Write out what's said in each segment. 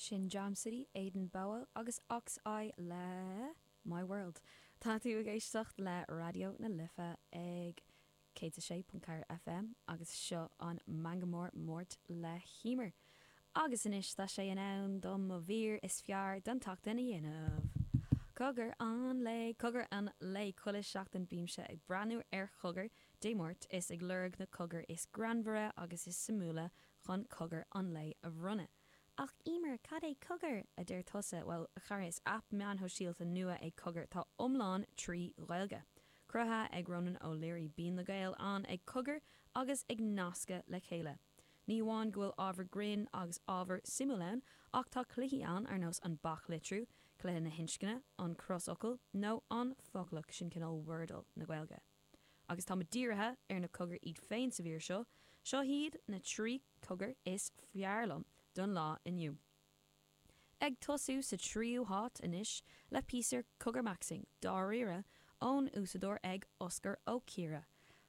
Sin Jam City, Aidan Bowe agus Ox-Eye le My World. Tá tú ag éisteacht le Raidió na Life ag 106.4 FM agus seo an Meangadh Mór Máirt le hEmer. Agus anois tá sé in am dom mo mhír is fearr don tseachtain a dhéanamh. Cogar an lae, cogar an lae, chuile sheachtain bímse ag breathnú ar Chogar Dé Máirt is ag lorg na cogair is greannmhaire agus is suimiúla chun cogar an lae a bhronnadh. Ach Emer, cad é Cogar? a deir tusa. Bhuel, a chara, is aip meáin shóisialta nua é Cogar atá iomlán trí Ghaeilge. Cruthaithe ag Ronan O'Leary, bíonn na Gaeil ann ag cogar agus ag nascadh le chéile. Ní amháin go bhfuil ábhar grinn agus ábhar suimiúil ann, ach tá cluichí ann ar nós an baclitriú, cluiche na hinscne, an crosfhocal nó an foclach, sin cineál Wordle na Gaeilge. Agus tá muid dírithe ar na cogair iad féin sa mhír seo, seo hiad na 3 cogar is fearr liom don lá inniu. Ag tosú sa tríú háit anois le píosa cogarmaxxing dáiríre ón úsáideoir ag Oscar Ó Ciardha.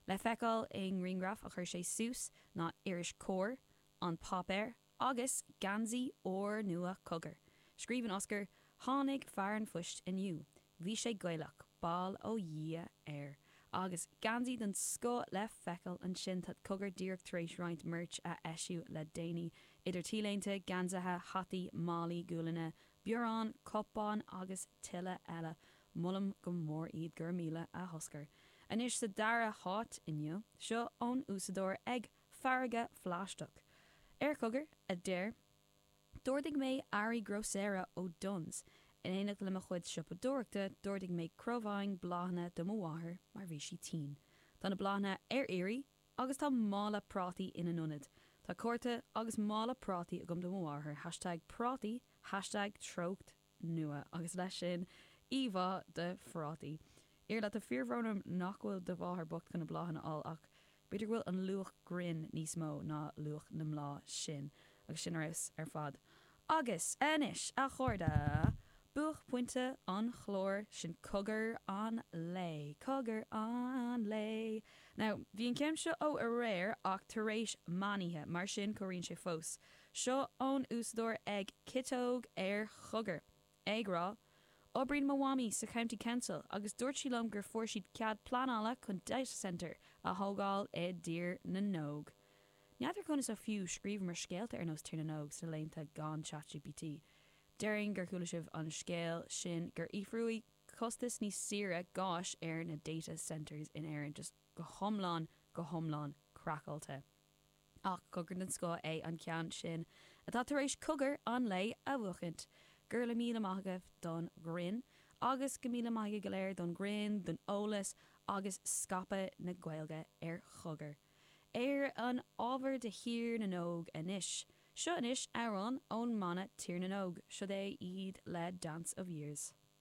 Le feiceáil i ngrianghraf a chuir sé suas ná iris Comhar, An Páipéar agus geansaí úrnua Cogar. Scríobhann Oscar, Tháinig fear an phoist inniu. Bhí sé Gaelach, bail ó Dhia air. Agus geansaí den scoth le feiceáil ansin. Tá Cogar díreach tar éis roinnt merch a eisiú le déanaí, idir T-léinte, geansaithe, hataí, málaí gualainne, bioráin, cupáin agus tuilleadh eile. Molaim go mór iad, go raibh míle a Oscar. Anois sa dara háit inniu, seo ón úsáideoir ag Farraige Phlaisteach. Ar Chogar, a deir. D'ordaigh mé earraí grósaera ó Dunnes. In éineacht le mo chuid siopadóireachta, d'ordaigh mé crobhaing bláthanna do mo mháthair mar bhí sí tinn. Tá na bláthanna ar iarraidh agus tá mála prátaí ina n-ionad. Tá cárta agus mála prátaí agam do mo mháthair, hashtag prátaí, hashtag treocht nua agus leis sin, íomhá de phrátaí. Iarla, tá fíorbhrón orm nach bhfuil do mháthair bocht chun na bláthanna a fháil ach b'fhéidir go bhfuil an luach grinn níos mó ná luach na mbláth sin. Agus sin ar fheabhas ar fad. Agus anois, a chairde, buaicphointe an chláir, sin cogar an lae. Cogar an lae! Now, bhí an ceann seo ó aréir ach tar éis meánoíche, mar sin cabhraíonn sé fós. Seo ón úsáideoir ag Citeog ar Chogar, ag rá, Oibríonn mo mhamaí sa County Council agus dúirt sí liom gur fuair siad cead pleanála chun data centre a thógáil i dTír na nÓg. N'fheadar conas a fiú scríobhamar scéalta ar nós Tír na nÓg sna laethanta gan ChatGPT. Déarfainn gur chuala sibh an scéal sin gur fhiafraíodh costas níos saoire gáis ar na data centres in Éirinn. Just go hiomlán, go hiomlán craiceáilte. Ach cogar den scoth é an ceann sin atá tar éis cogar an lae a bhuachaint. Go raibh míle maith agaibh don ghreann agus go míle maith agaibh go léir don ghreann, don eolas agus scaipeadh na Gaeilge ar Chogar. Ar an ábhar de Thír na nÓg anois. Seo anois amhrán ón mbanna Tír na nÓg. Siod é iad le Dance of Years.